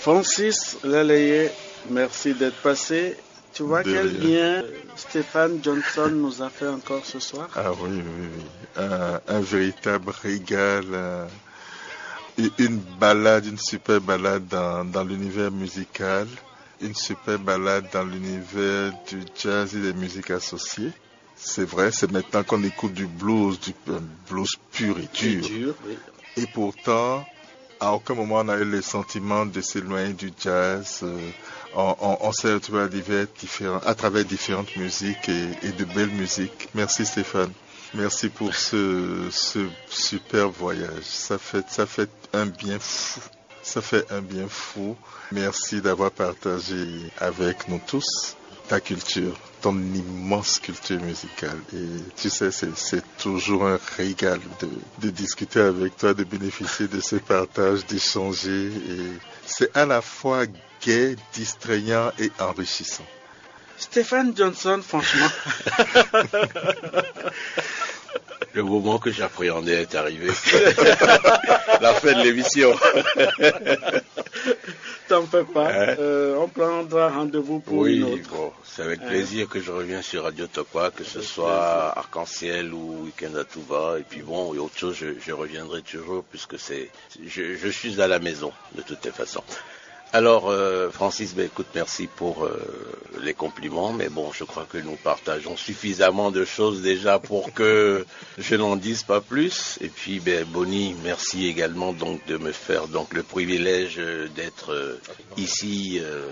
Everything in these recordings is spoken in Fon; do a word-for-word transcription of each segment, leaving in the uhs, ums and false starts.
Francis Leleye, merci d'être passé. Tu vois quel bien Stéphane Johnson nous a fait encore ce soir? Ah oui, oui, oui. Un, un véritable régal. Euh, une balade, une super balade dans, dans l'univers musical, une super balade dans l'univers du jazz et des musiques associées. C'est vrai, c'est maintenant qu'on écoute du blues, du euh, blues pur et dur. Dur, oui. Et pourtant, à aucun moment on a eu le sentiment de s'éloigner du jazz. Euh, on, on, on s'est retrouvé à, divers, différents, à travers différentes musiques et, et de belles musiques. Merci Stéphane. Merci pour ce, ce super voyage. Ça fait, ça fait un bien fou. Ça fait un bien fou. Merci d'avoir partagé avec nous tous ta culture, ton immense culture musicale. Et tu sais, c'est toujours un régal de, de discuter avec toi, de bénéficier de ce partage, d'échanger. Et c'est à la fois gai, distrayant et enrichissant. Stéphane Johnson, franchement. Le moment que j'appréhendais est arrivé. La fin de l'émission. T'en fais pas. Hein? Euh, on prendra rendez-vous pour oui, une autre. Bon, c'est avec hein? plaisir que je reviens sur Radio Tokwa, que ce soit Arc-en-Ciel ou Weekend à tout va. Et puis bon, il y a autre chose, je, je reviendrai toujours puisque c'est, je, je suis à la maison de toutes les façons. Alors, euh, Francis, ben, écoute, merci pour euh, les compliments, mais bon, je crois que nous partageons suffisamment de choses déjà pour que je n'en dise pas plus. Et puis, ben, Bonnie, merci également donc de me faire donc le privilège euh, d'être euh, ici euh,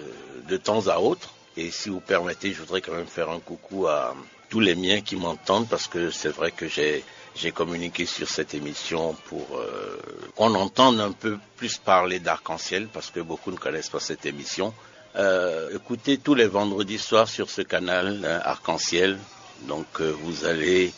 de temps à autre. Et si vous permettez, je voudrais quand même faire un coucou à tous les miens qui m'entendent parce que c'est vrai que j'ai j'ai communiqué sur cette émission pour euh, qu'on entende un peu plus parler d'Arc-en-Ciel parce que beaucoup ne connaissent pas cette émission. Euh, écoutez tous les vendredis soirs sur ce canal hein, Arc-en-Ciel. Donc euh, vous allez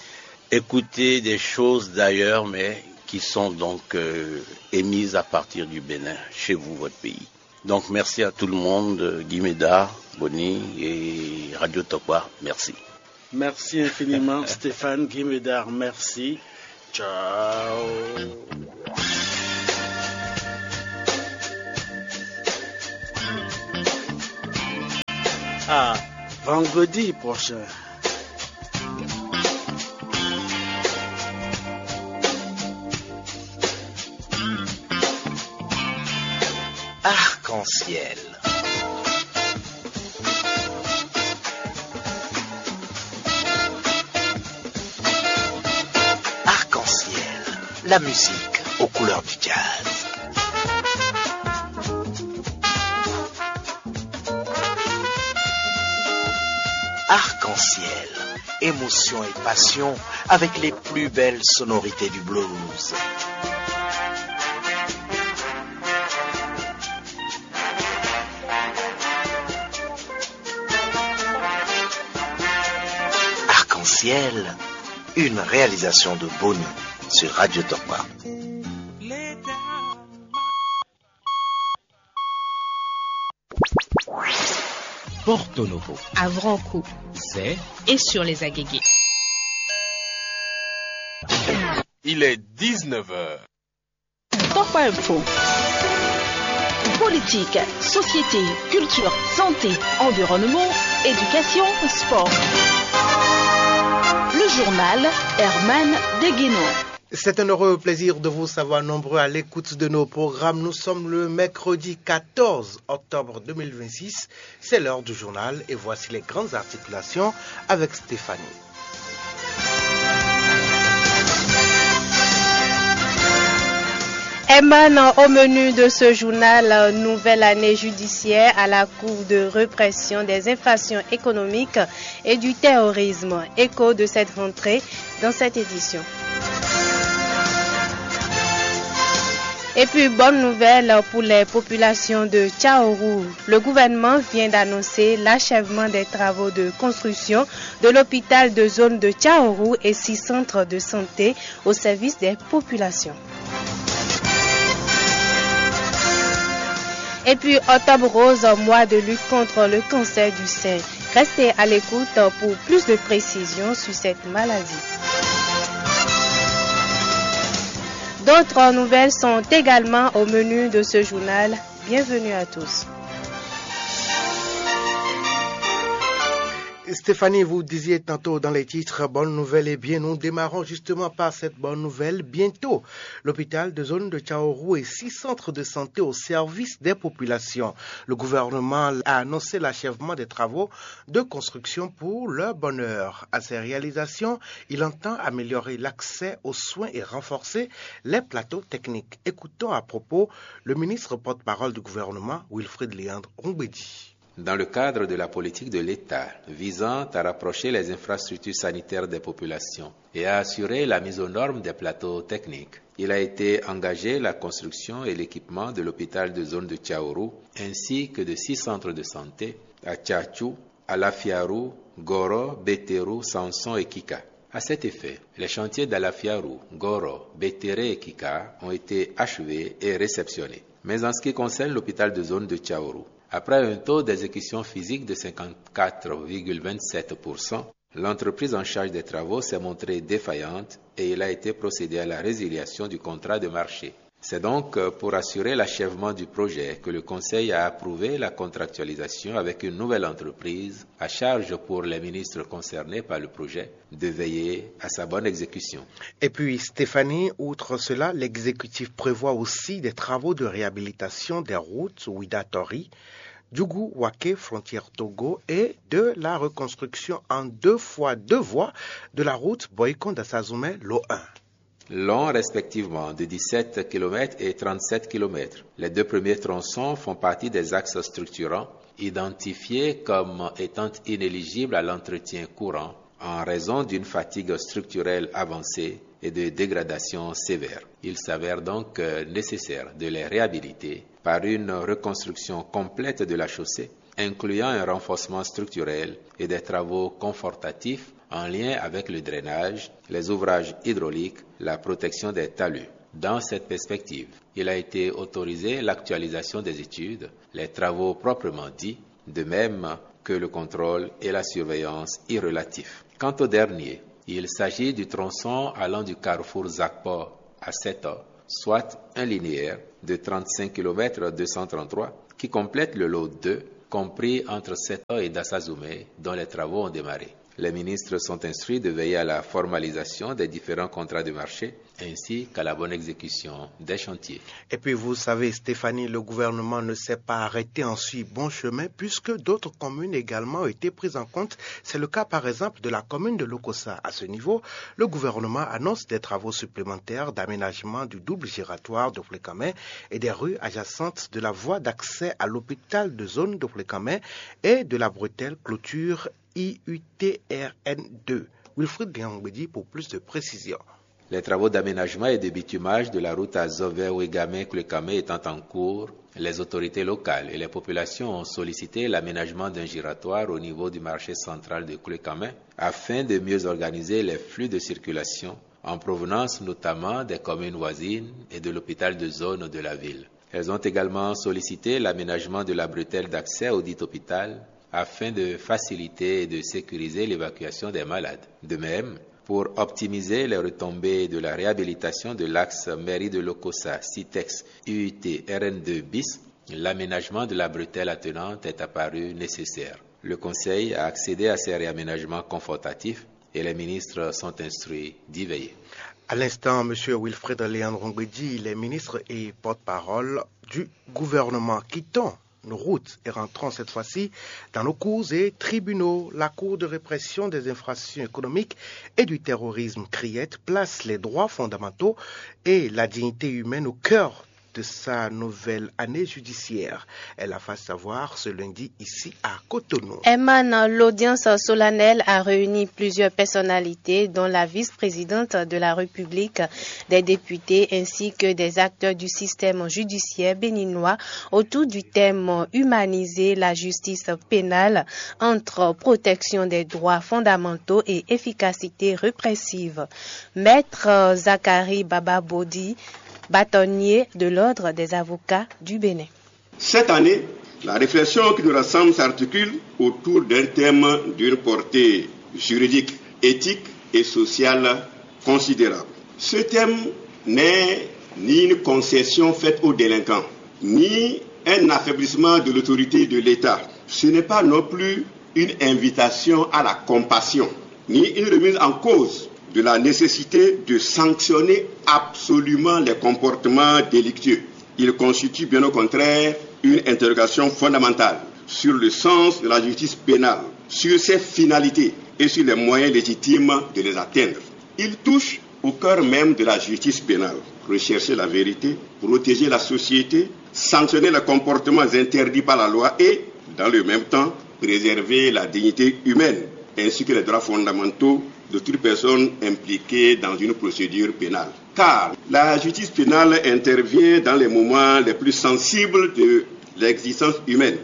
écouter des choses d'ailleurs, mais qui sont donc euh, émises à partir du Bénin, chez vous, votre pays. Donc merci à tout le monde, Guy Médard, Bonnie et Radio Tokwa. Merci. Merci infiniment, Stéphane Guy Médard. Merci. Ciao. À vendredi prochain. Arc-en-ciel. Arc-en-ciel, la musique aux couleurs du jazz. Arc-en-ciel, émotion et passion avec les plus belles sonorités du blues. Arc-en-ciel, une réalisation de Bonnie sur Radio Tokwa. Porto Novo, à Vranco, Zé et sur les Agégués. Il est dix-neuf heures. Top Info. Politique, société, culture, santé, environnement, éducation, sport. Le journal Herman Deguénon. C'est un heureux plaisir de vous savoir nombreux à l'écoute de nos programmes. Nous sommes le mercredi quatorze octobre deux mille vingt-six. C'est l'heure du journal et voici les grandes articulations avec Stéphanie. Herman, au menu de ce journal, nouvelle année judiciaire à la Cour de répression des infractions économiques et du terrorisme. Écho de cette rentrée dans cette édition. Et puis, bonne nouvelle pour les populations de Tchaourou. Le gouvernement vient d'annoncer l'achèvement des travaux de construction de l'hôpital de zone de Tchaourou et six centres de santé au service des populations. Et puis, octobre rose, mois de lutte contre le cancer du sein. Restez à l'écoute pour plus de précisions sur cette maladie. D'autres nouvelles sont également au menu de ce journal. Bienvenue à tous. Stéphanie, vous disiez tantôt dans les titres, bonne nouvelle, eh bien, nous démarrons justement par cette bonne nouvelle. Bientôt, l'hôpital de zone de Tchaorou et six centres de santé au service des populations. Le gouvernement a annoncé l'achèvement des travaux de construction pour leur bonheur. À ces réalisations, il entend améliorer l'accès aux soins et renforcer les plateaux techniques. Écoutons à propos le ministre porte-parole du gouvernement, Wilfried Léandre Rongbedi. Dans le cadre de la politique de l'État visant à rapprocher les infrastructures sanitaires des populations et à assurer la mise aux normes des plateaux techniques, il a été engagé la construction et l'équipement de l'hôpital de zone de Tchaorou ainsi que de six centres de santé à Tchatchou, à Lafiarou, Goro, Bétérou, Sanson et Kika. À cet effet, les chantiers d'Alafiarou, Goro, Bétéré et Kika ont été achevés et réceptionnés. Mais en ce qui concerne l'hôpital de zone de Tchaorou, après un taux d'exécution physique de cinquante-quatre virgule vingt-sept pour cent, l'entreprise en charge des travaux s'est montrée défaillante et il a été procédé à la résiliation du contrat de marché. C'est donc pour assurer l'achèvement du projet que le Conseil a approuvé la contractualisation avec une nouvelle entreprise à charge pour les ministres concernés par le projet de veiller à sa bonne exécution. Et puis, Stéphanie, outre cela, l'exécutif prévoit aussi des travaux de réhabilitation des routes Ouidah-Tory, Djougou-Waké, frontière Togo, et de la reconstruction en deux fois deux voies de la route Boycon-Dassa-Zoumé, l'O un. Long respectivement de dix-sept kilomètres et trente-sept kilomètres. Les deux premiers tronçons font partie des axes structurants identifiés comme étant inéligibles à l'entretien courant en raison d'une fatigue structurelle avancée et de dégradations sévères. Il s'avère donc nécessaire de les réhabiliter par une reconstruction complète de la chaussée, incluant un renforcement structurel et des travaux confortatifs en lien avec le drainage, les ouvrages hydrauliques, la protection des talus. Dans cette perspective, il a été autorisé l'actualisation des études, les travaux proprement dits, de même que le contrôle et la surveillance y relatifs. Quant au dernier, il s'agit du tronçon allant du carrefour Zakpo à Seto, soit un linéaire de trente-cinq kilomètres deux cent trente-trois qui complète le lot deux, compris entre Seto et Dassa-Zoumé, dont les travaux ont démarré. Les ministres sont instruits de veiller à la formalisation des différents contrats de marché ainsi qu'à la bonne exécution des chantiers. Et puis vous savez, Stéphanie, le gouvernement ne s'est pas arrêté en si bon chemin puisque d'autres communes également ont été prises en compte. C'est le cas par exemple de la commune de Lokossa. À ce niveau, le gouvernement annonce des travaux supplémentaires d'aménagement du double giratoire de Flécamin et des rues adjacentes de la voie d'accès à l'hôpital de zone de Flécamin et de la bretelle clôture I U T R N deux. Wilfried Léandre Rongbedi pour plus de précision. Les travaux d'aménagement et de bitumage de la route à Zové-Ouégamé-Clécamé étant en cours, les autorités locales et les populations ont sollicité l'aménagement d'un giratoire au niveau du marché central de Clécamé afin de mieux organiser les flux de circulation en provenance notamment des communes voisines et de l'hôpital de zone de la ville. Elles ont également sollicité l'aménagement de la bretelle d'accès audit hôpital afin de faciliter et de sécuriser l'évacuation des malades. De même, pour optimiser les retombées de la réhabilitation de l'axe mairie de Lokossa, Citex, U T R N deux bis, l'aménagement de la bretelle attenante est apparu nécessaire. Le Conseil a accédé à ces réaménagements confortatifs et les ministres sont instruits d'y veiller. À l'instant, M. Wilfried Léandre Rongbedi, il est ministre et porte-parole du gouvernement. Quittons nos routes et rentrons cette fois-ci dans nos cours et tribunaux. La Cour de répression des infractions économiques et du terrorisme, CRIET, place les droits fondamentaux et la dignité humaine au cœur de sa nouvelle année judiciaire. Elle a fait savoir ce lundi ici à Cotonou. Herman, l'audience solennelle a réuni plusieurs personnalités, dont la vice-présidente de la République, des députés ainsi que des acteurs du système judiciaire béninois autour du thème humaniser la justice pénale entre protection des droits fondamentaux et efficacité répressive. Maître Zacharie Bababodi, bâtonnier de l'Ordre des avocats du Bénin. Cette année, la réflexion qui nous rassemble s'articule autour d'un thème d'une portée juridique, éthique et sociale considérable. Ce thème n'est ni une concession faite aux délinquants, ni un affaiblissement de l'autorité de l'État. Ce n'est pas non plus une invitation à la compassion, ni une remise en cause de la nécessité de sanctionner absolument les comportements délictueux. Il constitue bien au contraire une interrogation fondamentale sur le sens de la justice pénale, sur ses finalités et sur les moyens légitimes de les atteindre. Il touche au cœur même de la justice pénale. Rechercher la vérité, protéger la société, sanctionner les comportements interdits par la loi et, dans le même temps, préserver la dignité humaine ainsi que les droits fondamentaux de toute personne impliquée dans une procédure pénale. Car la justice pénale intervient dans les moments les plus sensibles de l'existence humaine.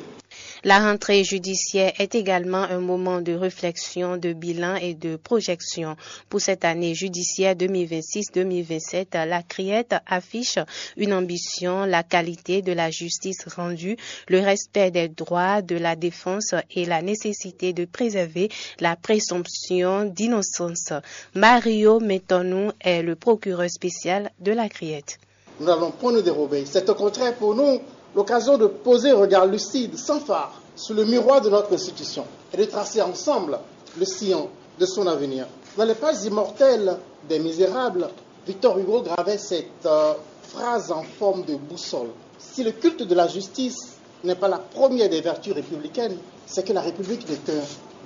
La rentrée judiciaire est également un moment de réflexion, de bilan et de projection. Pour cette année judiciaire deux mille vingt-six deux mille vingt-sept, la Criette affiche une ambition, la qualité de la justice rendue, le respect des droits de la défense et la nécessité de préserver la présomption d'innocence. Mario Metonou est le procureur spécial de la Criette. Nous n'allons point nous dérober. C'est au contraire pour nous l'occasion de poser un regard lucide, sans fard, sur le miroir de notre institution et de tracer ensemble le sillon de son avenir. Dans les pages immortelles des Misérables, Victor Hugo gravait cette euh, phrase en forme de boussole. Si le culte de la justice n'est pas la première des vertus républicaines, c'est que la République n'est qu'un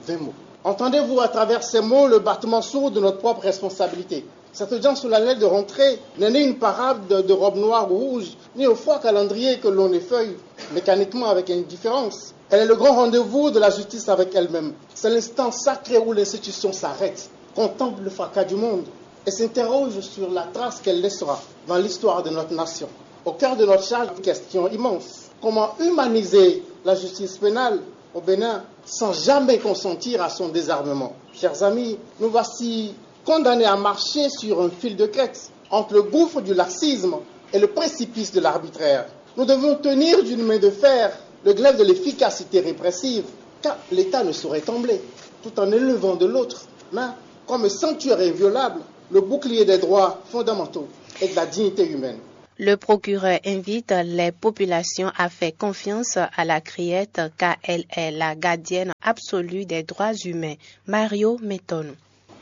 vain mot. Entendez-vous à travers ces mots le battement sourd de notre propre responsabilité. Cette audience solennelle de rentrée n'est ni une parade de, de robes noires ou rouges, ni le froid calendrier que l'on effeuille mécaniquement avec indifférence. Elle est le grand rendez-vous de la justice avec elle-même. C'est l'instant sacré où l'institution s'arrête, contemple le fracas du monde et s'interroge sur la trace qu'elle laissera dans l'histoire de notre nation. Au cœur de notre charge, une question immense. Comment humaniser la justice pénale au Bénin sans jamais consentir à son désarmement ? Chers amis, nous voici condamnés à marcher sur un fil de crête entre le gouffre du laxisme et le précipice de l'arbitraire. Nous devons tenir d'une main de fer le glaive de l'efficacité répressive, car l'État ne saurait trembler, tout en élevant de l'autre main, comme sanctuaire inviolable, le bouclier des droits fondamentaux et de la dignité humaine. Le procureur invite les populations à faire confiance à la Criette car elle est la gardienne absolue des droits humains. Mario Metonou.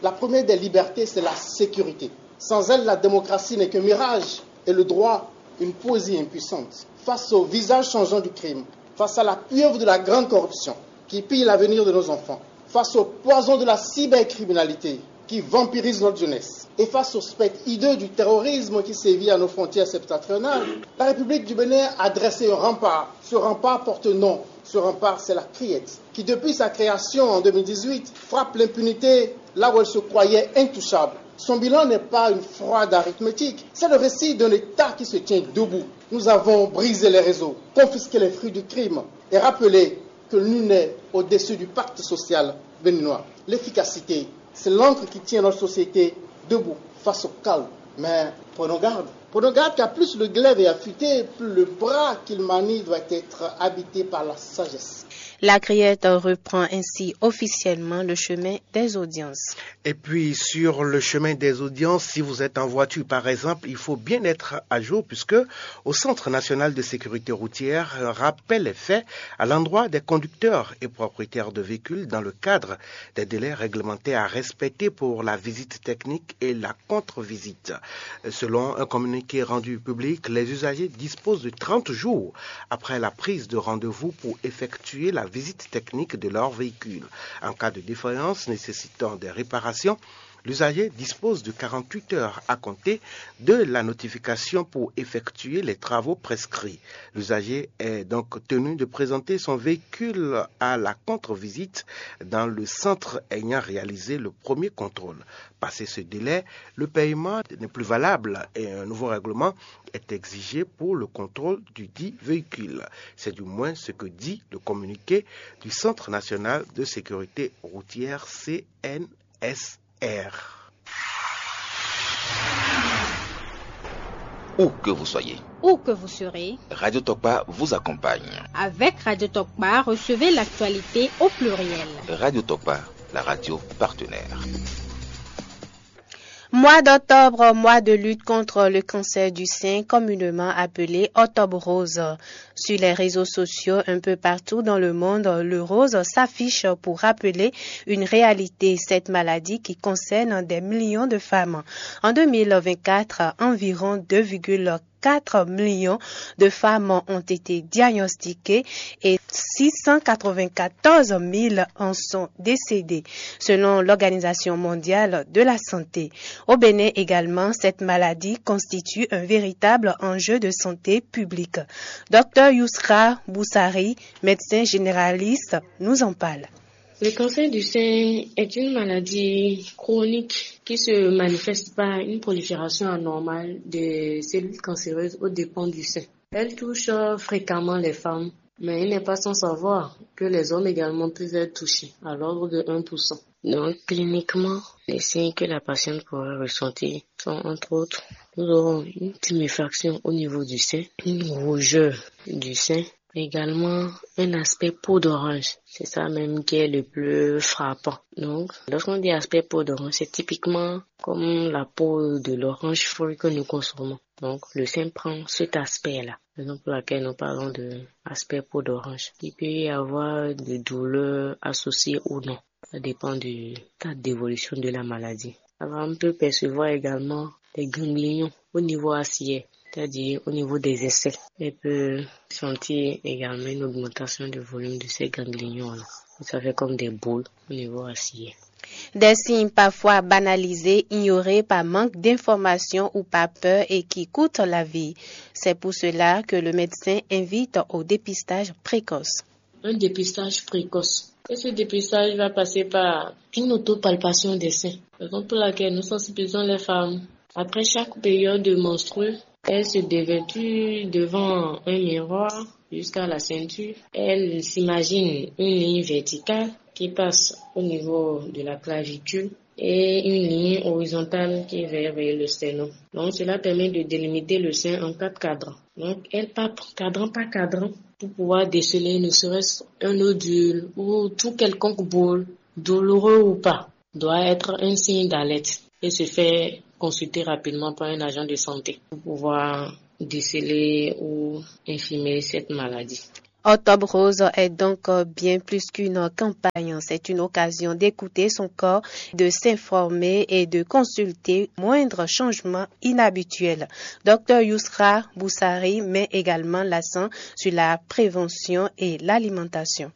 La première des libertés, c'est la sécurité. Sans elle, la démocratie n'est qu'un mirage et le droit, une poésie impuissante. Face au visage changeant du crime, face à la pieuvre de la grande corruption qui pille l'avenir de nos enfants, face au poison de la cybercriminalité qui vampirise notre jeunesse et face au spectre hideux du terrorisme qui sévit à nos frontières septentrionales, la République du Bénin a dressé un rempart. Ce rempart porte nom. Ce rempart, c'est la Criette, qui depuis sa création en deux mille dix-huit frappe l'impunité là où elle se croyait intouchable. Son bilan n'est pas une froide arithmétique, c'est le récit d'un État qui se tient debout. Nous avons brisé les réseaux, confisqué les fruits du crime et rappelé que nul n'est au-dessus du pacte social béninois. L'efficacité, c'est l'encre qui tient notre société debout face au chaos. Mais prenons garde. Prenons garde car plus le glaive est affûté, plus le bras qu'il manie doit être habité par la sagesse. La Criette reprend ainsi officiellement le chemin des audiences. Et puis, sur le chemin des audiences, si vous êtes en voiture, par exemple, il faut bien être à jour puisque au Centre national de sécurité routière, rappel est fait à l'endroit des conducteurs et propriétaires de véhicules dans le cadre des délais réglementaires à respecter pour la visite technique et la contre-visite. Selon un communiqué rendu public, les usagers disposent de trente jours après la prise de rendez-vous pour effectuer la visite technique de leur véhicule. En cas de défaillance nécessitant des réparations, l'usager dispose de quarante-huit heures à compter de la notification pour effectuer les travaux prescrits. L'usager est donc tenu de présenter son véhicule à la contre-visite dans le centre ayant réalisé le premier contrôle. Passé ce délai, le paiement n'est plus valable et un nouveau règlement est exigé pour le contrôle du dit véhicule. C'est du moins ce que dit le communiqué du Centre national de sécurité routière C N S R. Où que vous soyez, Où que vous serez, Radio Tokpa vous accompagne. Avec Radio Tokpa, recevez l'actualité au pluriel. Radio Tokpa, la radio partenaire. Mois d'octobre, mois de lutte contre le cancer du sein, communément appelé octobre rose. Sur les réseaux sociaux, un peu partout dans le monde, le rose s'affiche pour rappeler une réalité, cette maladie qui concerne des millions de femmes. En deux mille vingt-quatre, environ deux virgule quatre millions de femmes ont été diagnostiquées et six cent quatre-vingt-quatorze mille en sont décédées, selon l'Organisation mondiale de la santé. Au Bénin également, cette maladie constitue un véritable enjeu de santé publique. Docteur Yousra Boussari, médecin généraliste, nous en parle. Le cancer du sein est une maladie chronique qui se manifeste par une prolifération anormale des cellules cancéreuses aux dépens du sein. Elle touche fréquemment les femmes, mais il n'est pas sans savoir que les hommes également peuvent être touchés, à l'ordre de un pour cent. Donc, cliniquement, les signes que la patiente pourra ressentir sont entre autres, nous aurons une tuméfaction au niveau du sein, une rougeur du sein, également un aspect peau d'orange. C'est ça même qui est le plus frappant. Donc, lorsqu'on dit aspect peau d'orange, c'est typiquement comme la peau de l'orange fruit que nous consommons. Donc, le sein prend cet aspect-là. Raison pour laquelle nous parlons de aspect peau d'orange. Il peut y avoir des douleurs associées ou non. Ça dépend du stade d'évolution de la maladie. Alors, on peut percevoir également des ganglions au niveau axillaire, c'est-à-dire au niveau des aisselles. On peut sentir également une augmentation du volume de ces ganglions-là. Ça fait comme des boules au niveau axillaire. Des signes parfois banalisés, ignorés par manque d'information ou par peur et qui coûtent la vie. C'est pour cela que le médecin invite au dépistage précoce. Un dépistage précoce. Et ce dépistage va passer par une autopalpation des seins, raison pour laquelle nous sensibilisons les femmes. Après chaque période menstruelle, elles se dévêtissent devant un miroir jusqu'à la ceinture. Elles s'imaginent une ligne verticale qui passe au niveau de la clavicule et une ligne horizontale qui est vers, vers le sternum. Donc cela permet de délimiter le sein en quatre cadrans. Donc elle palpe cadran par cadran pour pouvoir déceler ne serait-ce un nodule ou tout quelconque boule, douloureux ou pas, doit être un signe d'alerte et se faire consulter rapidement par un agent de santé pour pouvoir déceler ou infirmer cette maladie. Octobre Rose est donc bien plus qu'une campagne, c'est une occasion d'écouter son corps, de s'informer et de consulter moindre changement inhabituel. Docteur Yousra Boussari met également l'accent sur la prévention et l'alimentation.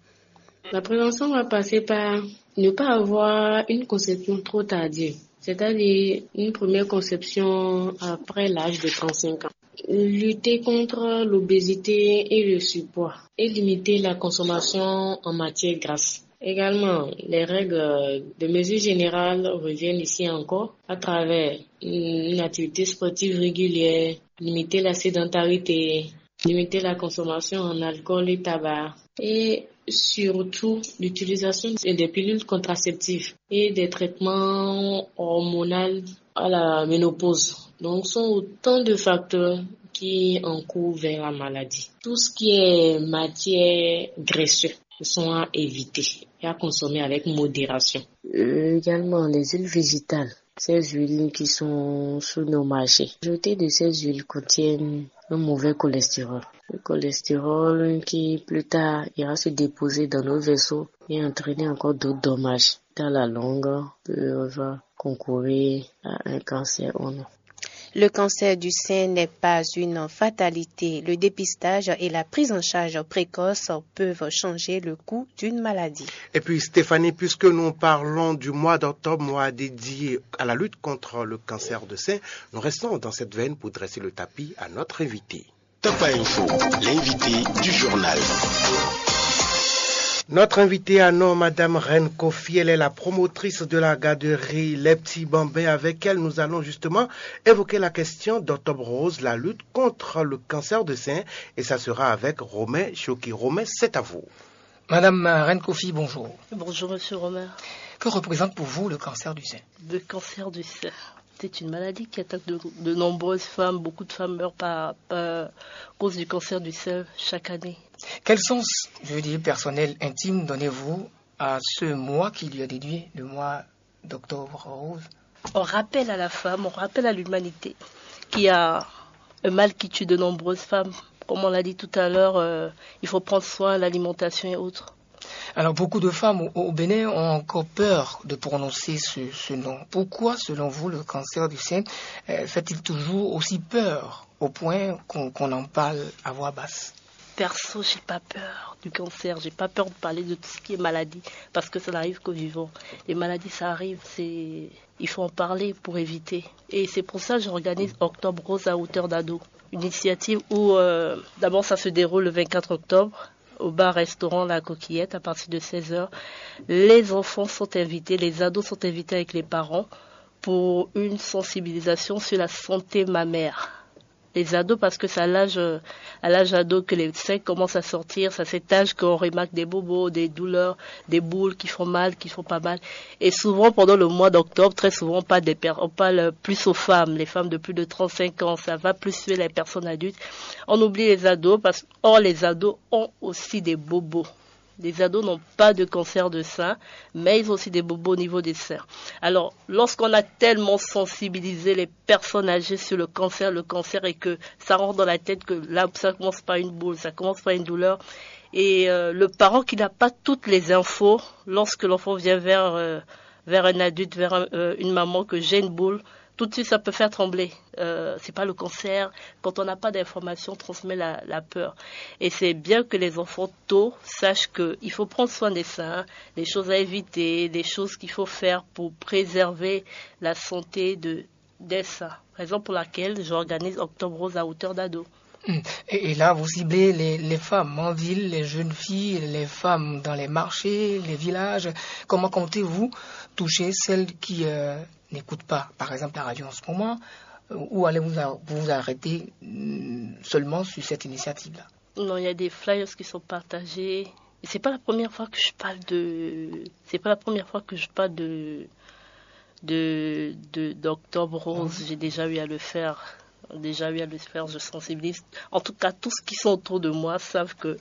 La prévention va passer par ne pas avoir une conception trop tardive, c'est-à-dire une première conception après l'âge de trente-cinq ans. Lutter contre l'obésité et le surpoids et limiter la consommation en matière grasse. Également, les règles de mesure générale reviennent ici encore à travers une activité sportive régulière, limiter la sédentarité, limiter la consommation en alcool et tabac et surtout l'utilisation des pilules contraceptives et des traitements hormonaux à la ménopause. Donc, ce sont autant de facteurs qui encourent vers la maladie. Tout ce qui est matière graisseuse sont à éviter et à consommer avec modération. Euh, également, les huiles végétales, ces huiles qui sont sur nos marchés. La majorité de ces huiles contiennent un mauvais cholestérol. Le cholestérol qui, plus tard, ira se déposer dans nos vaisseaux et entraîner encore d'autres dommages. Dans la longue, peut va concourir à un cancer ou non. Le cancer du sein n'est pas une fatalité. Le dépistage et la prise en charge précoce peuvent changer le cours d'une maladie. Et puis Stéphanie, puisque nous parlons du mois d'octobre, mois dédié à la lutte contre le cancer de sein, nous restons dans cette veine pour dresser le tapis à notre invité. Top Info, l'invité du journal. Notre invitée à nom, Madame Reine Kofi, elle est la promotrice de la garderie Les Petits Bambins. Avec elle, nous allons justement évoquer la question d'Octobre Rose, la lutte contre le cancer de sein. Et ça sera avec Romain Choki. Romain, c'est à vous. Madame Reine Kofi, bonjour. Bonjour, Monsieur Romain. Que représente pour vous le cancer du sein ? Le cancer du sein, c'est une maladie qui attaque de, de nombreuses femmes. Beaucoup de femmes meurent par, par cause du cancer du sein chaque année. Quel sens, je veux dire, personnel, intime, donnez-vous à ce mois qui lui est dédié, le mois d'octobre rose ? On rappelle à la femme, on rappelle à l'humanité qu'il y a un mal qui tue de nombreuses femmes. Comme on l'a dit tout à l'heure, euh, il faut prendre soin, l'alimentation et autres. Alors, beaucoup de femmes au, au Bénin ont encore peur de prononcer ce, ce nom. Pourquoi, selon vous, le cancer du sein euh, fait-il toujours aussi peur au point qu'on qu'on en parle à voix basse? Perso, j'ai pas peur du cancer, j'ai pas peur de parler de tout ce qui est maladie, parce que ça n'arrive qu'aux vivants. Les maladies, ça arrive, c'est, il faut en parler pour éviter. Et c'est pour ça que j'organise Octobre Rose à hauteur d'ado. Une initiative où, euh, d'abord, ça se déroule le vingt-quatre octobre au bar-restaurant La Coquillette à partir de seize heures. Les enfants sont invités, les ados sont invités avec les parents pour une sensibilisation sur la santé mammaire. Les ados, parce que c'est à l'âge, euh, à l'âge ado que les seins commencent à sortir, c'est à cet âge qu'on remarque des bobos, des douleurs, des boules qui font mal, qui font pas mal. Et souvent, pendant le mois d'octobre, très souvent, on parle, des per- on parle plus aux femmes, les femmes de plus de trente-cinq ans, ça va plus sur les personnes adultes. On oublie les ados, parce que, or, les ados ont aussi des bobos. Les ados n'ont pas de cancer de sein, mais ils ont aussi des bobos au niveau des seins. Alors, lorsqu'on a tellement sensibilisé les personnes âgées sur le cancer, le cancer, et que ça rentre dans la tête que là, ça commence par une boule, ça commence par une douleur, et euh, le parent qui n'a pas toutes les infos, lorsque l'enfant vient vers, euh, vers un adulte, vers un- euh, une maman que j'ai une boule, tout de suite, ça peut faire trembler. Euh, c'est pas le cancer. Quand on n'a pas d'informations, on transmet la, la peur. Et c'est bien que les enfants tôt sachent qu'il faut prendre soin des seins, les choses à éviter, les choses qu'il faut faire pour préserver la santé de, des seins. Raison pour laquelle j'organise Octobre Rose à hauteur d'ado. Hmm. Et, et là, vous ciblez les, les femmes en ville, les jeunes filles, les femmes dans les marchés, les villages. Comment comptez-vous toucher celles qui euh, n'écoutent pas, par exemple, la radio en ce moment, euh, ou allez-vous a- vous arrêter mm, seulement sur cette initiative-là? Non, il y a des flyers qui sont partagés. Et c'est pas la première fois que je parle de, c'est pas la première fois que je parle de, de, de d'Octobre Rose. J'ai déjà eu à le faire. Déjà eu à le faire, je sensibilise. En tout cas, tous ceux qui sont autour de moi savent que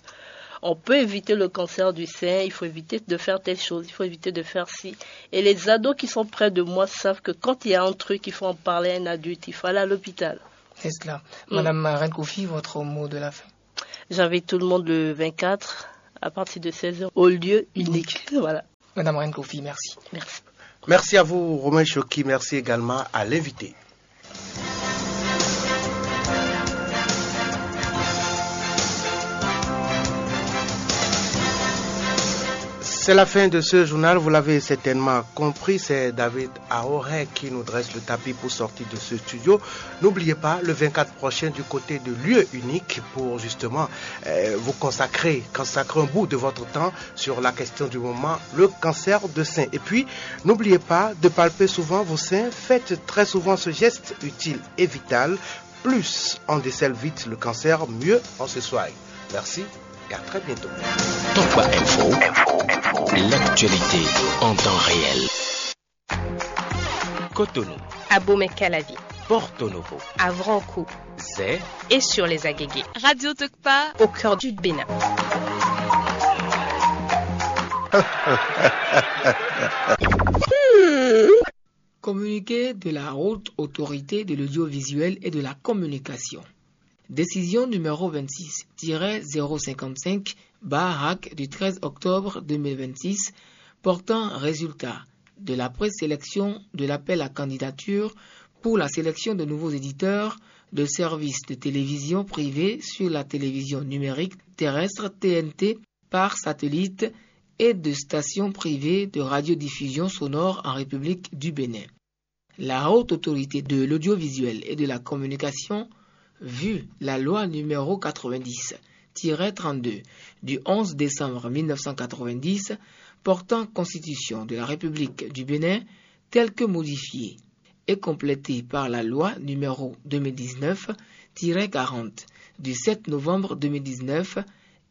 on peut éviter le cancer du sein, il faut éviter de faire telle chose, il faut éviter de faire ci. Et les ados qui sont près de moi savent que quand il y a un truc, il faut en parler à un adulte, il faut aller à l'hôpital. C'est cela. Mm. Madame Marine Kofi, votre mot de la fin. J'invite tout le monde le vingt-quatre à partir de seize heures au lieu unique. Voilà. Madame Marine Kofi, merci. Merci. Merci à vous, Romain Choki. Merci également à l'invité. C'est la fin de ce journal, vous l'avez certainement compris, c'est David Aoré qui nous dresse le tapis pour sortir de ce studio. N'oubliez pas, le vingt-quatre prochain du côté de lieu unique pour justement euh, vous consacrer, consacrer un bout de votre temps sur la question du moment, le cancer de sein. Et puis, n'oubliez pas de palper souvent vos seins, faites très souvent ce geste utile et vital. Plus on décèle vite le cancer, mieux on se soigne. Merci et à très bientôt. Tokba Info, l'actualité en temps réel. Cotonou, Abomey-Calavi, Porto Novo, Avranco, Zé et sur les Agégués. Radio Tokpa au cœur du Bénin. Communiqué de la Haute Autorité de l'Audiovisuel et de la Communication. Décision numéro vingt-six tiret zéro cinquante-cinq barre HAC du treize octobre deux mille vingt-six portant résultat de la présélection de l'appel à candidature pour la sélection de nouveaux éditeurs de services de télévision privés sur la télévision numérique terrestre T N T par satellite et de stations privées de radiodiffusion sonore en République du Bénin. La Haute Autorité de l'Audiovisuel et de la Communication, vue la loi numéro quatre-vingt-dix tiret trente-deux du onze décembre mille neuf cent quatre-vingt-dix portant constitution de la République du Bénin telle que modifiée et complétée par la loi numéro deux mille dix-neuf tiret quarante du sept novembre deux mille dix-neuf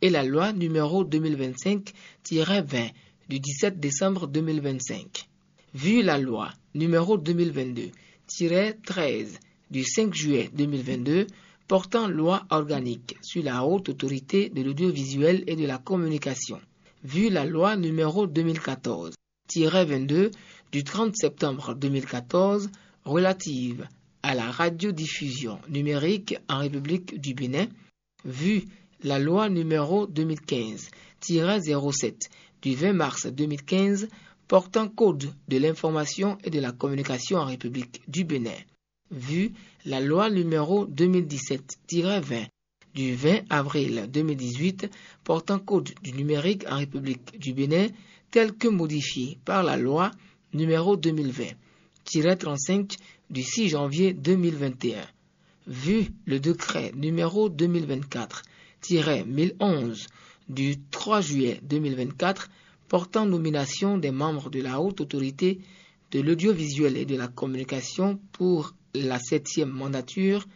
et la loi numéro deux mille vingt-cinq tiret vingt du dix-sept décembre deux mille vingt-cinq. Vue la loi numéro deux mille vingt-deux tiret treize du cinq juillet deux mille vingt-deux portant loi organique sur la Haute Autorité de l'Audiovisuel et de la Communication, vue la loi numéro deux mille quatorze tiret vingt-deux du trente septembre deux mille quatorze relative à la radiodiffusion numérique en République du Bénin, vue la loi numéro deux mille quinze tiret zéro sept du vingt mars deux mille quinze portant code de l'information et de la communication en République du Bénin, vue la loi numéro deux mille dix-sept tiret vingt du vingt avril deux mille dix-huit portant code du numérique en République du Bénin, telle que modifiée par la loi numéro deux mille vingt tiret trente-cinq du six janvier deux mille vingt et un, vue le décret numéro deux mille vingt-quatre tiret mille onze du trois juillet deux mille vingt-quatre portant nomination des membres de la Haute Autorité de l'Audiovisuel et de la Communication pour la septième mandature,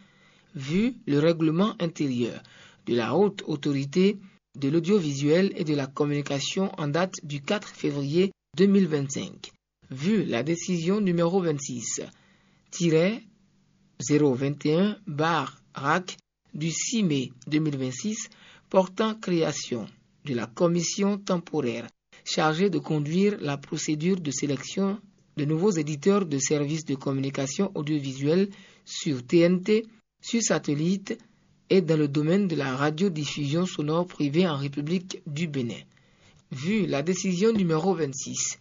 vue le règlement intérieur de la Haute Autorité de l'Audiovisuel et de la Communication en date du quatre février deux mille vingt-cinq, vue la décision numéro vingt-six tiret zéro vingt et un barre RAC du six mai deux mille vingt-six portant création de la commission temporaire chargée de conduire la procédure de sélection de nouveaux éditeurs de services de communication audiovisuelle sur T N T, sur satellite et dans le domaine de la radiodiffusion sonore privée en République du Bénin. Vue la décision numéro vingt-six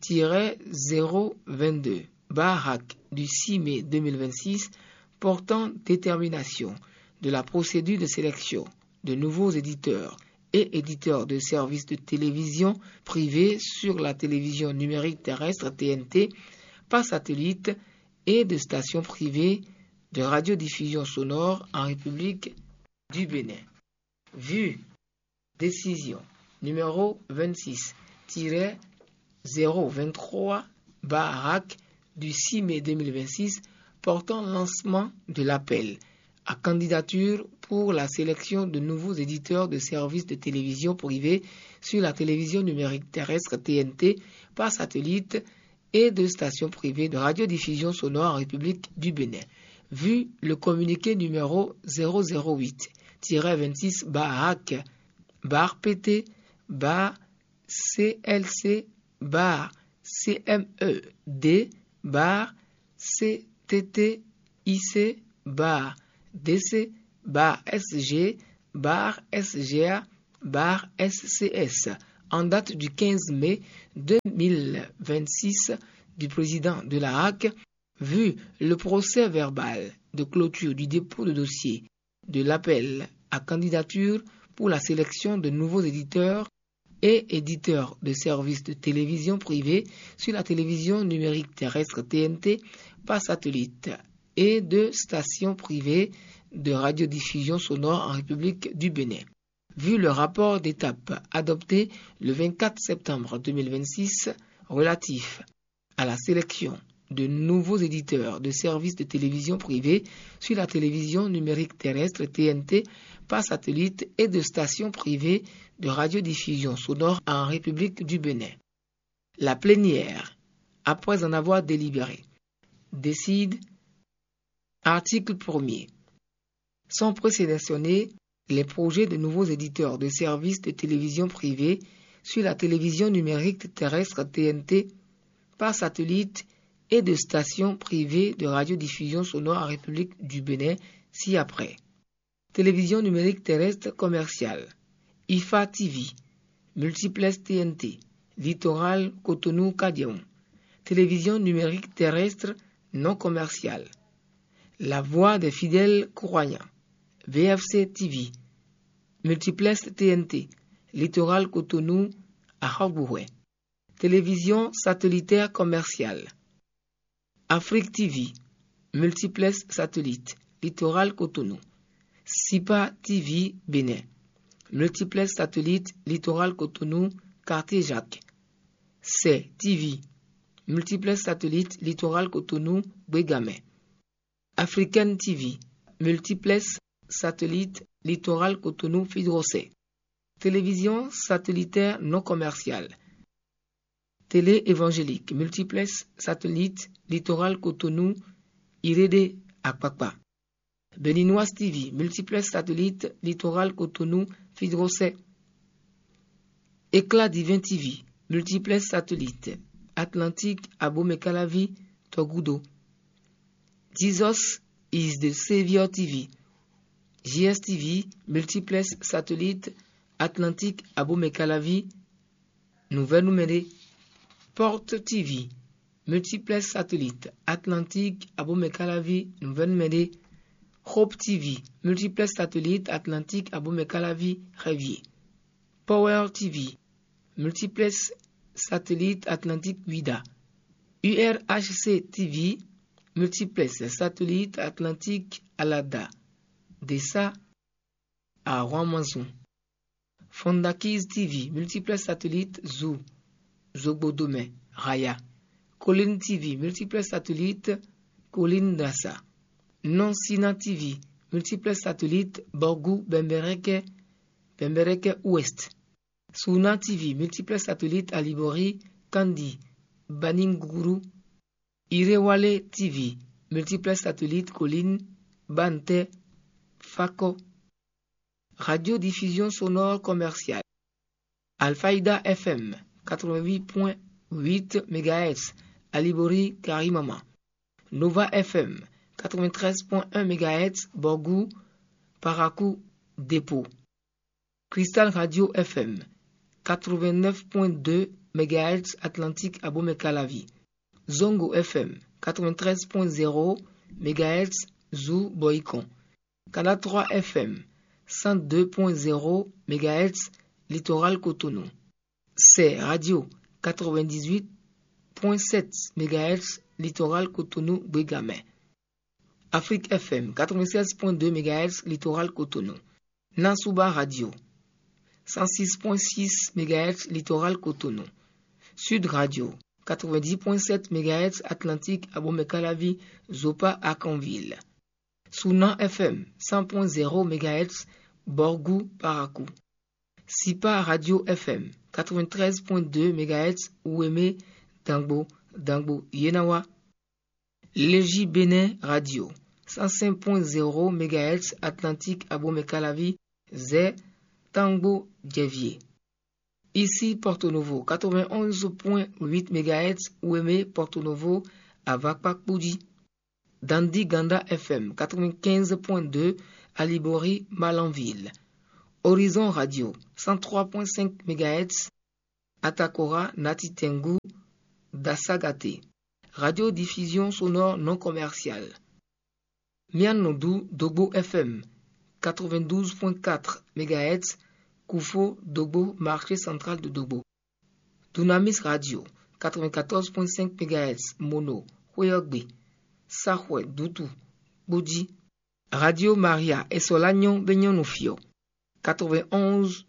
tiret zéro vingt-deux barre RAC du six mai deux mille vingt-six portant détermination de la procédure de sélection de nouveaux éditeurs et éditeurs de services de télévision privés sur la télévision numérique terrestre T N T par satellite et de stations privées de radiodiffusion sonore en République du Bénin. Vue décision numéro vingt-six tiret zéro vingt-trois barre RAC du six mai deux mille vingt-six portant lancement de l'appel à candidature pour la sélection de nouveaux éditeurs de services de télévision privés sur la télévision numérique terrestre T N T par satellite et de stations privées de radiodiffusion sonore en République du Bénin, vue le communiqué numéro zéro zéro huit tiret vingt-six barre RAC barre P T barre C L C barre C M E D barre C T T I C barre D C barre S G barre S G A barre S C S en date du quinze mai deux mille vingt-six du président de la RAC, vu le procès-verbal de clôture du dépôt de dossier de l'appel à candidature pour la sélection de nouveaux éditeurs et éditeurs de services de télévision privée sur la télévision numérique terrestre T N T par satellite et de stations privées de radiodiffusion sonore en République du Bénin, vu le rapport d'étape adopté le vingt-quatre septembre deux mille vingt-six relatif à la sélection de nouveaux éditeurs de services de télévision privée sur la télévision numérique terrestre T N T par satellite et de stations privées de radiodiffusion sonore en République du Bénin. La plénière, après en avoir délibéré, décide, article premier, sans présélectionner les projets de nouveaux éditeurs de services de télévision privée sur la télévision numérique terrestre T N T par satellite et de stations privées de radiodiffusion sonore en République du Bénin ci-après. Télévision numérique terrestre commerciale, IFA T V, multiplex T N T, Littoral Cotonou Cadion, télévision numérique terrestre non commerciale, La Voix des fidèles croyants, V F C T V, multiplex T N T, Littoral Cotonou à Hogoué, télévision satellitaire commerciale, Afrique T V, multiplex satellite, Littoral Cotonou, Sipa T V Bénin, multiplex satellite, Littoral Cotonou, Quartier Jacques, C T V, multiplex satellite, Littoral Cotonou, Bégamé, Africaine T V, multiplex satellite, Littoral Cotonou, Fidrosé, télévision satellitaire non commerciale, télé évangélique, multiplex satellite, Littoral Cotonou, Irédé, Akpakpa, Béninoise T V, multiplex satellite, Littoral Cotonou, Fidrosé, Éclat divin T V, multiplex satellite, Atlantique Abomey-Calavi tɔ gúdo. Jesus is the Savior T V, J S T V, multiplex satellite Atlantique Abomey-Calavi, nouvelle numéro. Porte T V, multiplex satellite Atlantique Abomey-Calavi, nouvelle numéro. Hope T V, multiplex satellite Atlantique Abomey-Calavi, Révier. Power T V, multiplex satellite Atlantique Ouidah. U R H C T V, multiplex satellite Atlantique Alada, Dessa, Arwan Manzon. Fondakiz T V, multiplex satellite Zou, Zogbodomɛ, Raya. Colline T V, multiplex satellite Colline Dassa. Non Sina T V, multiplex satellite Borgou Bembereke, Bembereke Ouest. Suna T V, multiplex satellite Alibori, Kandi, Baninguru. Irewale T V, multiplex satellite Colline, Bante, Fako. Radiodiffusion sonore commerciale. Alfaïda F M, quatre-vingt-huit point huit mégahertz, Alibori, Karimama. Nova F M, quatre-vingt-treize point un mégahertz, Borgou, Parakou, Dépôt. Cristal Radio F M, quatre-vingt-neuf point deux mégahertz, Atlantique Abomey-Calavi. Zongo F M, quatre-vingt-treize point zéro mégahertz, Zou, Boycon. Canal trois F M, cent deux point zéro mégahertz, Littoral Cotonou. C'est Radio, quatre-vingt-dix-huit point sept mégahertz, Littoral Cotonou, Bégamé. Afrique F M, quatre-vingt-seize point deux mégahertz, Littoral Cotonou. Nasuba Radio, cent six point six mégahertz, Littoral Cotonou. Sud Radio, quatre-vingt-dix point sept mégahertz, Atlantique Abomey-Calavi, Zopa, Arcanville. Sunan F M, cent point zéro mégahertz, Borgou, Parakou. Sipa Radio F M, quatre-vingt-treize point deux mégahertz, Ouémé, Dangbo, Dangbo, Yenawa. Légie Bénin Radio, cent cinq point zéro mégahertz, Atlantique Abomey-Calavi, Zé, Tangbo, Djévié. Ici Porto Novo, quatre-vingt-onze point huit mégahertz, Ouémé, Porto Novo, Avakpa, Kpoudji. Dandi Ganda F M, quatre-vingt-quinze point deux, Alibori, Malanville. Horizon Radio, cent trois point cinq mégahertz, Atakora, Natitengu, Dasagate. Radiodiffusion sonore non commerciale. Mianodou Dogbo F M, quatre-vingt-douze point quatre mégahertz, Koufo, Dogbo, Marché Central de Dogbo. Dunamis Radio, quatre-vingt-quatorze point cinq mégahertz, Mono, Xwéyɔ́gbe, Saxwɛ, Dutu, Kpoudji. Radio Maria, Esolagnon, Benyon Nufio, quatre-vingt-onze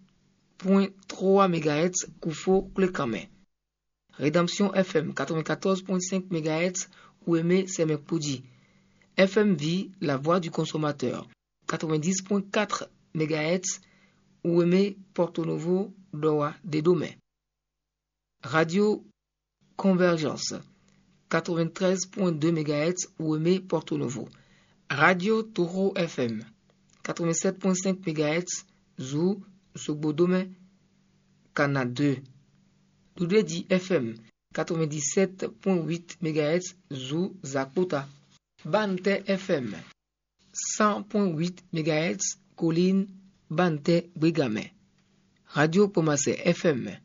point trois mégahertz, Koufo, Klékanmɛ. Rédemption F M, quatre-vingt-quatorze point cinq mégahertz, Ouémé, Sɛmɛ, Kpoudji. F M V, La Voix du Consommateur, quatre-vingt-dix point quatre mégahertz, Ouémé, Porto Novo, Dowa, Dédomé. Radio Convergence, quatre-vingt-treize point deux mégahertz, Ouémé, Porto Novo. Radio Toro F M, quatre-vingt-sept point cinq mégahertz, Zou, Sogbodomé, Kana deux. Doudédi F M, quatre-vingt-dix-sept point huit mégahertz, Zou, Zakpota. Bante F M, cent point huit mégahertz, Colline, Bante, Bégamé. Radio Pomasé F M,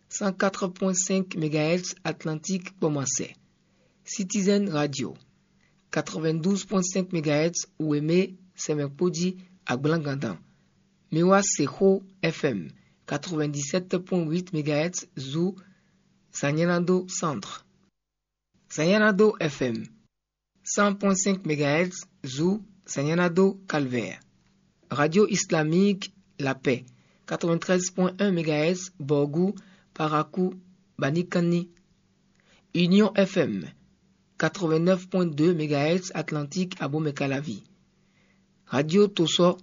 cent quatre point cinq mégahertz, Atlantique, Pomasé. Citizen Radio, quatre-vingt-douze point cinq mégahertz, Ouémé, Sɛmɛ, Kpoudji, Agblangandin. Miwa Seho F M, quatre-vingt-dix-sept point huit mégahertz, Zou, Sanyénado Centre. Sanyénado F M, cent point cinq mégahertz, Zou, Sanyénado Calvaire. Radio Islamique, La Paix, quatre-vingt-treize point un mégahertz, Borgou, Parakou, Banikani. Union F M, quatre-vingt-neuf point deux mégahertz, Atlantique, Abomey-Calavi. Radio Toso,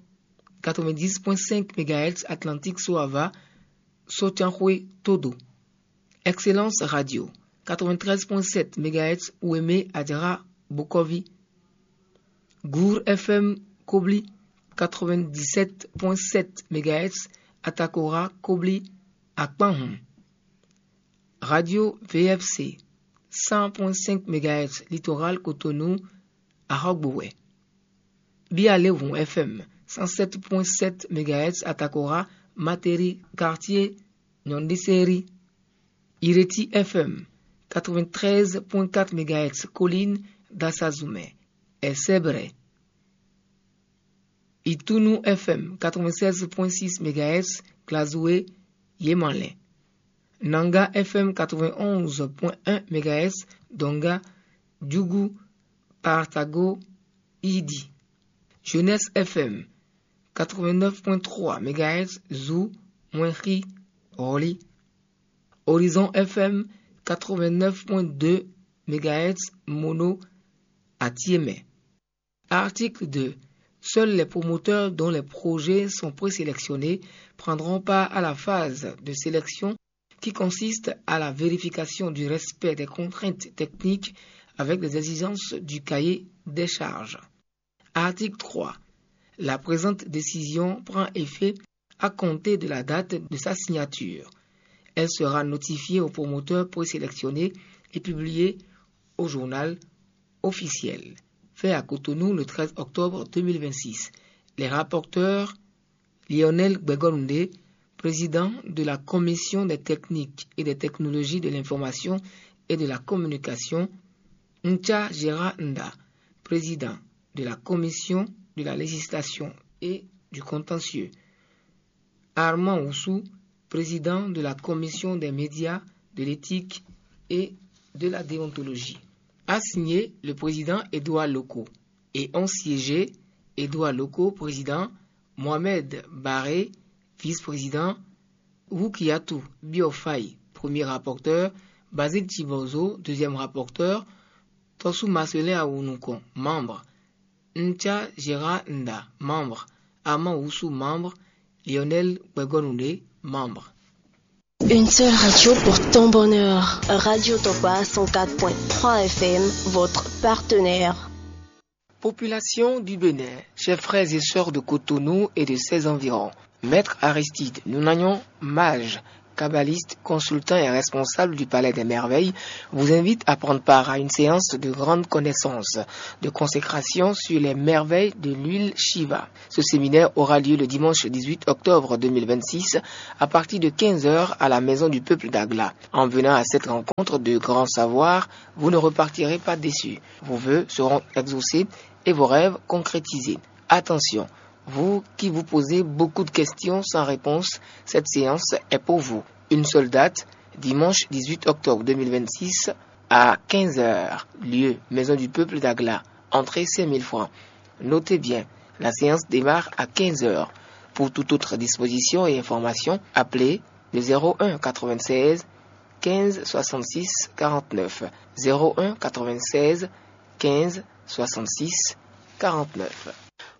quatre-vingt-dix point cinq mégahertz, Atlantique, Soava, Sotiankhwe, Todo. Excellence Radio, quatre-vingt-treize point sept mégahertz, Ouémé, Adjara, Bokovi. Gour F M, Kobli, quatre-vingt-dix-sept point sept mégahertz, Atakora, Kobli, Akpanhun. Radio V F C, cent point cinq mégahertz Littoral Cotonou, Ahɔgbowɛ. Bialevun F M, cent sept point sept mégahertz Atakora, Materi, quartier Nyɔndiseri. Ireti F M, quatre-vingt-treize point quatre mégahertz Colline d'Assazumè, Essebret. Itunu F M, quatre-vingt-seize point six mégahertz Glazoué, Yemalin. Nanga F M, quatre-vingt-onze point un mégahertz Donga, Djougou, Partago, Idi. Jeunesse F M, quatre-vingt-neuf point trois mégahertz Zou, Mwenri, Roli. Horizon F M, quatre-vingt-neuf point deux mégahertz Mono, Atiémé. Article deux. Seuls les promoteurs dont les projets sont présélectionnés prendront part à la phase de sélection qui consiste à la vérification du respect des contraintes techniques avec les exigences du cahier des charges. Article trois. La présente décision prend effet à compter de la date de sa signature. Elle sera notifiée aux promoteurs présélectionnés et publiée au journal officiel. Fait à Cotonou le treize octobre deux mille vingt-six. Les rapporteurs, Lionel Gbegorundé, président de la Commission des techniques et des technologies de l'information et de la communication, Ncha Gérard Nda, président de la Commission de la législation et du contentieux, Armand Oussou, président de la Commission des médias, de l'éthique et de la déontologie. A signé le président Édouard Loco et ont siégé Édouard Loco, président, Mohamed Barré, vice-président, Rukiatou Biofay, premier rapporteur, Basile Tibozo, deuxième rapporteur, Tosu Marcelin Awunukon, membre, Ncha Gérard Nda, membre, Armand Oussou, membre, Lionel Gbegonouné, membre. Une seule radio pour ton bonheur. Radio Tokwa cent quatre point trois F M, votre partenaire. Population du Bénin, chers frères et sœurs de Cotonou et de ses environs, Maître Aristide Nounagnon, mage, kabbaliste, consultant et responsable du Palais des Merveilles, vous invite à prendre part à une séance de grande connaissance, de consécration sur les merveilles de l'huile Shiva. Ce séminaire aura lieu le dimanche dix-huit octobre deux mille vingt-six à partir de quinze heures à la Maison du Peuple d'Agla. En venant à cette rencontre de grands savoirs, vous ne repartirez pas déçu. Vos vœux seront exaucés et vos rêves concrétisés. Attention, vous qui vous posez beaucoup de questions sans réponse, cette séance est pour vous. Une seule date, dimanche dix-huit octobre deux mille vingt-six à quinze heures, lieu Maison du Peuple d'Agla, entrée cinq mille francs. Notez bien, la séance démarre à quinze heures. Pour toute autre disposition et information, appelez le zéro un quatre-vingt-seize quinze soixante-six quarante-neuf, zéro un quatre-vingt-seize quinze soixante-six quarante-neuf.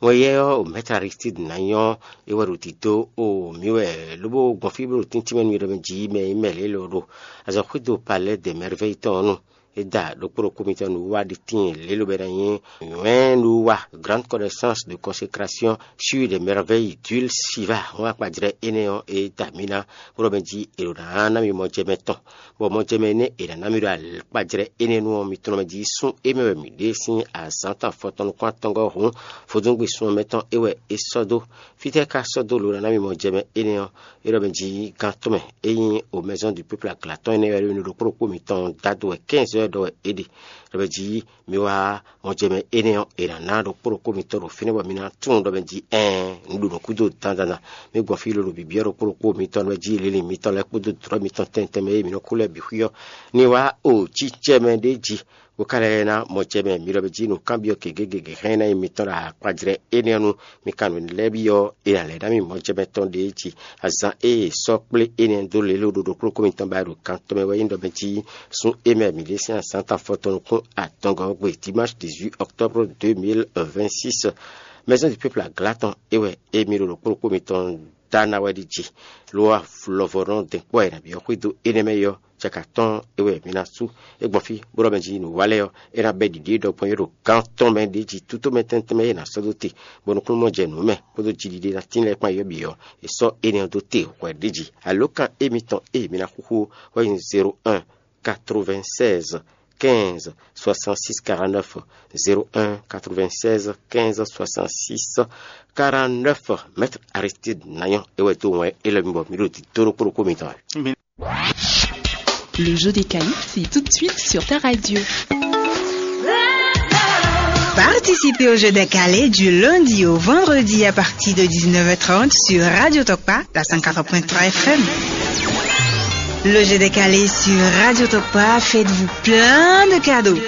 Wɛn yɛ ɔ́, o Maître Aristide ná nyɔ́ é wɛ ɖo tito o mǐ wɛ, lobo gbɔn fí bó ɖo tíntín mɛ nú yě ɖɔ mɛ jí mɛ nyí mɛ lě lɔ ɖo azɔ̌ xwedó Palais des Merveilles tɔn ɔ́ nu. É da ɖokpó ɖokpó mitɔn nǔwiwa ɖi tíin lě lobɛ ná nyí wɛ̌n nǔwiwa, grande connaissance de consécration sur les merveilles d'huile Shiva. Hɔn akpajlɛ́ énɛ́ ɔ́, é da mǐ ná bó ɖɔ mɛ jí è ɖǒ ná ná mì mɔjɛmɛ tɔn, bɔ mɔjɛmɛ énɛ́ è nǎ ná mì ɖo akpajlɛ́ énɛ́ nu ɔ́, mi tlɔ́n mɛ jí sún émɛ wɛ mǐ ɖe sín azǎn tɔn afɔtɔn nukún atɔngɔ́ hǔn vodúngbe sun ɔ́ mɛ tɔn é wɛ é sɔ́ dó. Fítɛ́ ka sɔ́ dó lǒ ná ná mì mɔjɛmɛ énɛ́ ɔ́? É ɖɔ mɛ jí gán tɔn mɛ é nyí o Maison du Peuple aglatɔn énɛ́ wɛ ɖo ɖokpó ɖokpó mitɔn dado wɛ quinze heures ɖɔ wɛ é ɖe. Ɖɔ mɛ jí mi wá mɔjɛmɛ énɛ́ ɔ́, è nǎ ná ɖokpó ɖokpó mitɔn ɖo fínɛ́ bɔ mi ná tunwun ɖɔ mɛ jí ɛɛn, un ɖo nǔ gúdo dandan. Mi gbɔn fí lolo bǐbíɔ́ ɖokpó ɖokpó mitɔn ɖɔ mɛ jí linlin mitɔn lɛ́ɛ kpódó dlɔ̌ mitɔn tɛntɛn mɛ e mi nɔ kú lɛ́ɛ bǐ xwí ɔ́, ní wá o cícɛ́ mɛ ɖé jí, bó ka lɛ́ ná mɔjɛmɛ mi ɖɔ mɛ jí nǔkanbyɔ́ gěgé gěgé hɛn ná nyí mitɔn ɖo akpajlɛ́ énɛ́ ɔ́ nu. Mi ka nǔ lɛ́ɛ byɔ́ è nǎ lɛ́ ná mì mɔjɛmɛ tɔn ɖě jí. Azǎn e è sɔ́ kplé énɛ́ dó lě ló ɖo ɖokpó ɖokpó mitɔn ba ɖo kan tɔn mɛ wɛ nyí ɖɔ mɛ jí sún é mɛ mǐ ɖe sín azǎn tɔn afɔtɔn nukún atɔngɔ́ gbe dimanche dix-huit octobre deux mille vingt-six. Maison du Peuple agla tɔn é wɛ émí ɖo ɖokpó ɖokpó mitɔn dá ná wɛ ɖi jí. Lo wá lɔvɔ́ nɔ dɛn kpɔ́ e nǎ byɔ́ xwedó énɛ́ mɛ yɔ cɛka tɔn é wɛ mi ná sú. É gbɔn fí bó ɖɔ mɛ jí nǔ wa lɛ́ɛ ɔ́, é ná bɛ́ ɖiɖi e ɖɔ gbɔn é ɖo gán tɔn mɛ ɖ'é jí tútó mɛ tɛntɛn mɛ é ná sɔ́ dó te, bɔnú kúnnu mɔ jɛ nǔ mɛ kpódó jiɖiɖe ná tín lɛ́ɛ kpán yɔ́ bǐ ɔ́, è sɔ́ énɛ́ ɔ́ dó te hwɛ̌ ɖ'é jí. Alǒkan émítɔn e mi ná xúxú ɔ́ wɛ nyí zéro un quatre-vingt-seize quinze soixante-six quarante-neuf, zéro un quatre-vingt-seize quinze soixante-six quarante-neuf. Maître Aristide Nayon é wɛ dó wɛn élɔ́ mi bɔ mi ɖo dǐdó ɖokpó ɖokpó mitɔn wɛ. Le jeu des qualifs, c'est tout de suite sur ta radio. Participez au jeu des qualifs du lundi au vendredi à partir de dix-neuf heures trente sur Radio Tokpa, la cent quatre-vingts point trois F M. Le jeu des qualifs sur Radio Tokpa, faites-vous plein de cadeaux.